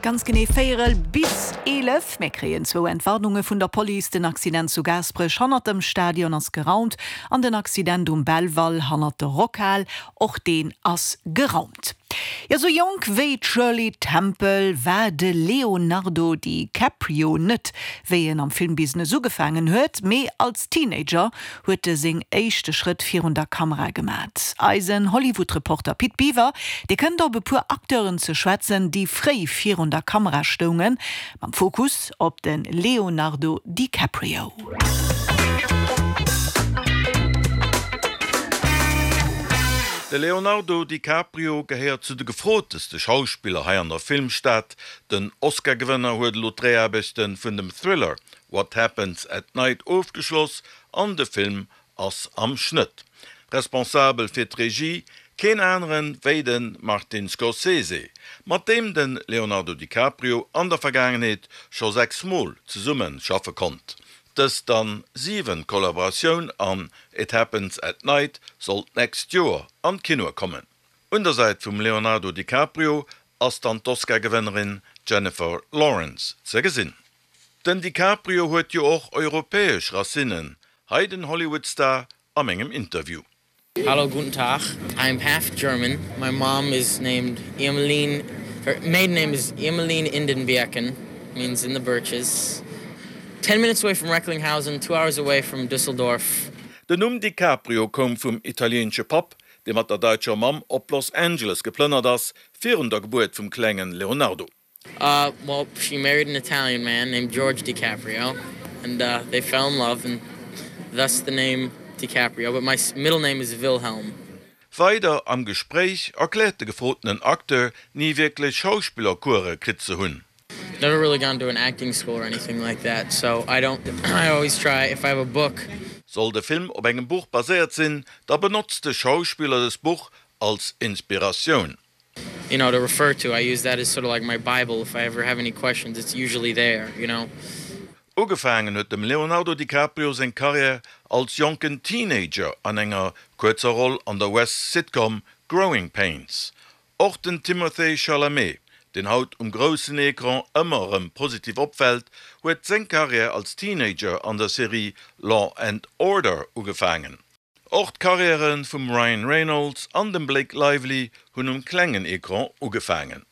Ganz genee véierel bis 11. Mir kréien zwou Entwarnunge vun der Police, Den Accident zu Gaasperech hannert dem Stadion ass geraumt an den Accident um Belval hannert der Rockhal, och deen ass geraumt. Jo, sou jonk wéi d'Shirley Temple war de Leonardo DiCaprio net, wéi en am Filmbusiness ugefaangen huet, mee als Teenager huet e seng éischte Schrëtt virun der Kamera gemat. Eisen Hollywood-Reporter Pit Biwer, dee kënnt op e puer Acteuren ze schwätzen, déi fréi virun der Kamera stoungen, mam Fokus op de Leonardo DiCaprio. De Leonardo DiCaprio gehéiert zu de gefroteste Schauspiller hei an der Filmstad. Den Oscar-Gewënner huet elo d'Dréiaarbechte vun dem Thriller What Happens at Night ofgeschloss an de Film ass am Schnëtt. Responsabel fir d'Regie keen aneren wéi de Martin Scorsese, mat deem de Leonardo DiCaprio an der Vergaangenheet scho 6 mol zesumme schaffe konnt. Dës dann 7 Kollaboratioun an It Happens at Night soll d'nächst Joer an d'Kinoe kommen. Un der Säit vum Leonardo DiCaprio ass dann d'Oscar-Gewënnerin Jennifer Lawrence ze gesinn. Den DiCaprio huet jo och europäesch Racinnen, hei den Hollywood-Star a mengem Interview. Hallo guten Tag I'm half German my mom is named Irmeline her maiden name is Irmeline in den Birken means in the birches 10 minutes away from Recklinghausen 2 hours away from Düsseldorf. Den Numm DiCaprio koum vum italieenesche Papp, dee mat der daitscher Mamm op Los Angeles geplënnert ass, virun der Gebuert vum klengen Leonardo. Uh, well she married an Italian man named George DiCaprio and uh, they fell in love and thus the name DiCaprio, but my middle name is Wilhelm. Weider am Gespréich erkläert de gefrotenen Acteur, ni wierklech Schauspillercourse kritt ze hunn. Never really gone to an acting school or anything like that, so I don't, I always try if I have a book. Soll de Film op engem Buch baséiert sinn, da benotzt de Schauspiller dëst Buch als Inspiratioun. You know to refer to I use that as sort of like my bible if I ever have any questions it's usually there you know. Ugefaangen huet dem Leonardo DiCaprio seng Karriär als jonken Teenager an enger kuerzer Roll an der US-Sitcom Growing Pains. Och den Timothée Chalamet, deen haut um groussen Ecran ëmmer erëm positiv opfält, huet seng Karriär als Teenager an der Serie Law and Order ugefaangen. Och d'Karriäre vum Ryan Reynolds an dem Blake Lively hunn um klengen Ecran ugefaangen.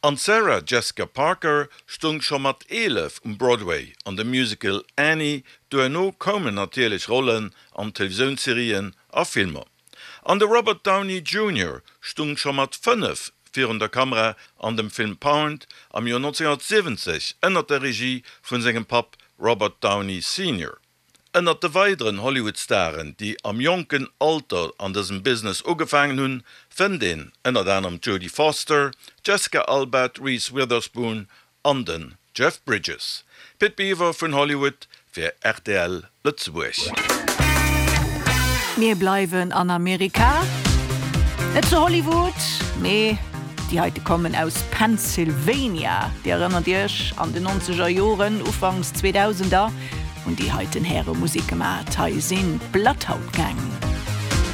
An d'Sarah Jessica Parker stung scho mat 11 um Broadway an dem Musical Annie, duerno koumen natierlech Rollen an Televisiounsserien a Filmer. An de Robert Downey Junior stung scho mat 5 virun der Kamera an dem Film Pound am Joer 1970 ënnert der Regie vun sengem Papp Robert Downey Senior. Ënnert de weideren Hollywood-Staren, déi am jonken Alter an dësem Business ugefaangen hunn, fënnt een ënnert anerem d'Jodie Foster, d'Jessica Alba, d'Reese Witherspoon an den Jeff Bridges. Pit Biwer vun Hollywood fir rtl Lëtzebuerg. Mir bleiwen an Amerika, net zu Hollywood, mee déi heite kommen aus Pennsylvania. Dir erënnert Iech, an den nonzeger Joren, ufanks Zweedausender, Hunn déi heiten Häre Musik gemat. Hei sinn d'Bloodhound Gang.